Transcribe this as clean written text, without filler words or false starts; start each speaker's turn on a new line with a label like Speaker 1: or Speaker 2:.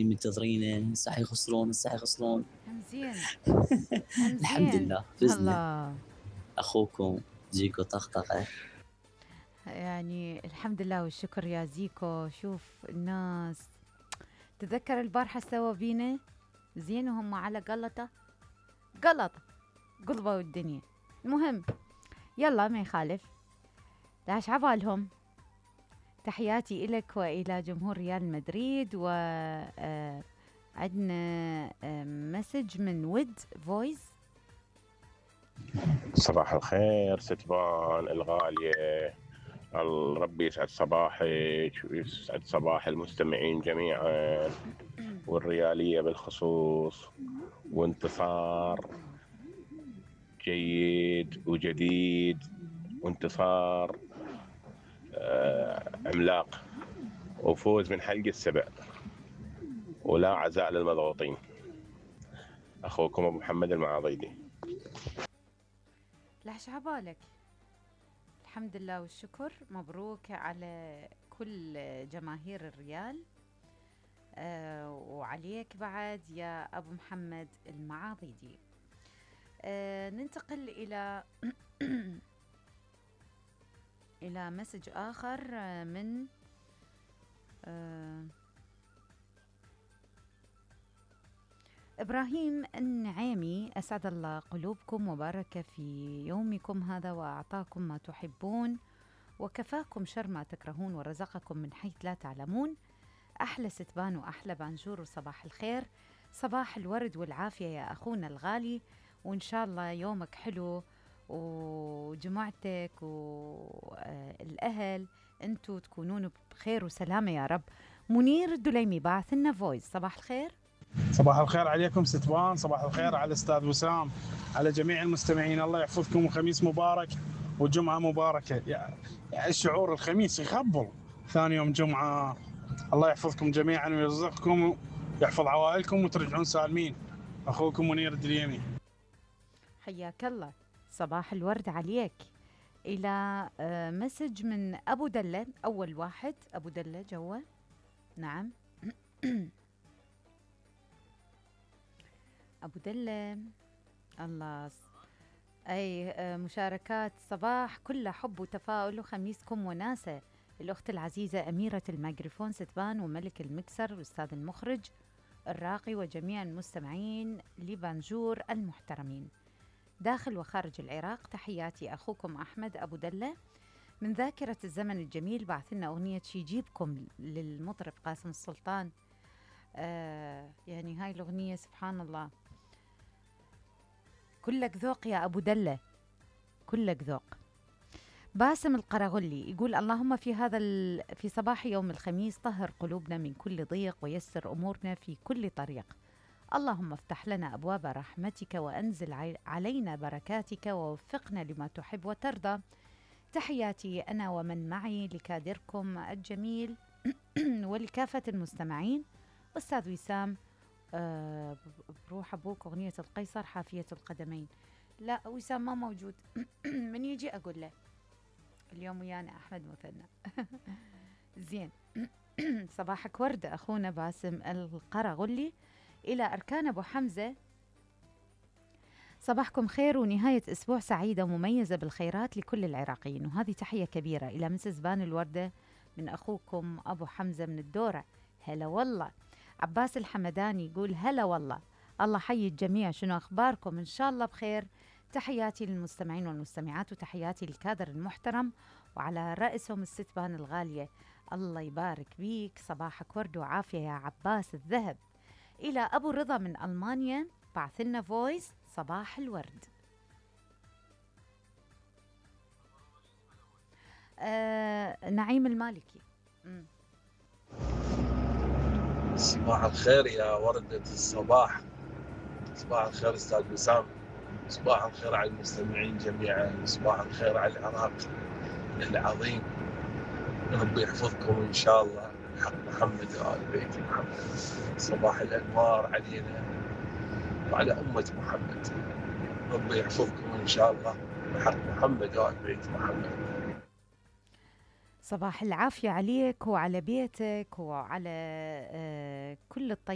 Speaker 1: منتظرينه صح يخسرون
Speaker 2: زين
Speaker 1: الحمد
Speaker 2: زين.
Speaker 1: لله فزنا.
Speaker 2: الله.
Speaker 1: اخوكم جيكو طقطقه.
Speaker 2: يعني الحمد لله والشكر يا زيكو. شوف الناس تذكر البارحة سوا بينا زين وهم على قلطة قلبوا الدنيا. المهم يلا ما يخالف، داش عبالهم. تحياتي إلك وإلى جمهور ريال مدريد. و عندنا مسج من ود فويس.
Speaker 3: صباح الخير ستبان الغالية، ربي يسعد صباحك ويسعد صباح المستمعين جميعا والريالية بالخصوص، وانتصار جيد وجديد وانتصار عملاق وفوز من حلقة السبع ولا عزاء للمضغوطين. أخوكم أبو محمد المعاضيدي.
Speaker 2: لحش عبالك. الحمد لله والشكر، مبروك على كل جماهير الريال وعليك بعد يا أبو محمد المعاضيدي. ننتقل إلى إلى مسج آخر من إبراهيم النعيمي. أسعد الله قلوبكم وبارك في يومكم هذا وأعطاكم ما تحبون وكفاكم شر ما تكرهون ورزقكم من حيث لا تعلمون. أحلى ستبان وأحلى بانجور وصباح الخير، صباح الورد والعافية يا أخونا الغالي، وإن شاء الله يومك حلو وجماعتك والأهل أنتوا تكونون بخير وسلامة يا رب. منير الدليمي باعث لنا فويس. صباح الخير.
Speaker 4: صباح الخير عليكم ستبان، صباح الخير على الأستاذ وسام، على جميع المستمعين. الله يحفظكم وخميس مبارك وجمعة مباركة. يعني الشعور الخميس يخبل، ثاني يوم جمعة. الله يحفظكم جميعا ويرزقكم ويحفظ عوائلكم وترجعون سالمين. أخوكم منير الدليمي.
Speaker 2: حياك الله، صباح الورد عليك. إلى مسج من أبو دلة. أول واحد أبو دلة جوا. نعم. أبو دلة الله. أي مشاركات صباح كلها حب وتفاؤل وخميسكم وناسة. الأخت العزيزة أميرة الميكروفون ستبان وملك المكسر والأستاذ المخرج الراقي وجميع المستمعين لبانجور المحترمين داخل وخارج العراق. تحياتي أخوكم أحمد أبو دلة من ذاكرة الزمن الجميل. بعثلنا أغنية شي يجيبكم للمطرب قاسم السلطان. يعني هاي الأغنية سبحان الله كلك ذوق يا أبو دلة، كلك ذوق. باسم القرغلي يقول اللهم في صباح يوم الخميس طهر قلوبنا من كل ضيق ويسر أمورنا في كل طريق. اللهم افتح لنا أبواب رحمتك وأنزل علينا بركاتك ووفقنا لما تحب وترضى. تحياتي أنا ومن معي لكادركم الجميل ولكافة المستمعين. أستاذ وسام بروح أبوك أغنية القيصر حافية القدمين. لا وسام ما موجود. من يجي أقول له اليوم ويانا أحمد مثنى. زين. صباحك ورد أخونا باسم القرغلي. إلى أركان أبو حمزة. صباحكم خير ونهاية أسبوع سعيدة ومميزة بالخيرات لكل العراقيين. وهذه تحية كبيرة إلى مسز بان الوردة من أخوكم أبو حمزة من الدورة. هلا والله. عباس الحمداني يقول هلا والله، الله حي الجميع، شنو أخباركم؟ إن شاء الله بخير. تحياتي للمستمعين والمستمعات وتحياتي للكادر المحترم وعلى رأسهم الستبان الغالية. الله يبارك بيك. صباحك ورد وعافية يا عباس الذهب. إلى أبو رضا من ألمانيا بعثلنا فويس. صباح الورد. نعيم المالكي.
Speaker 5: صباح الخير يا وردة الصباح. صباح الخير أستاذ وسام. صباح الخير على المستمعين جميعا. صباح الخير على العراق العظيم. ربي يحفظكم إن شاء الله بحق محمد وآل بيت محمد. صباح الأنوار علينا وعلى أمة محمد. ربي يحفظكم إن شاء الله بحق محمد وآل بيت محمد.
Speaker 2: صباح العافية عليك وعلى بيتك وعلى كل الطيب